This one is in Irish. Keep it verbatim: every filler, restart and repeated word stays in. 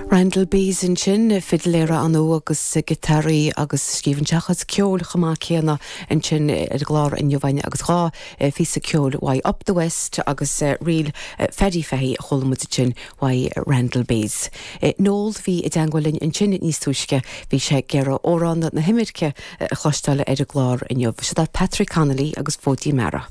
Randall Bees ansin fidléir ann agus giotáraí agus scríobhann sé chuid ceoil chomh maith céanna ansin ar an gclár inniu agus dhá phíosa ceoil uaidh Up the West agus ríl Phaddy Fahy a chuala muid sin uaidh Randall Bees. Noel bhí i dteagmháil linn ansin níos túisce bhí sé ag iarraidh amhrán na himirce a chloisteáil ar an gclár inniu. Seo Patrick Connolly agus Fóidín Meara.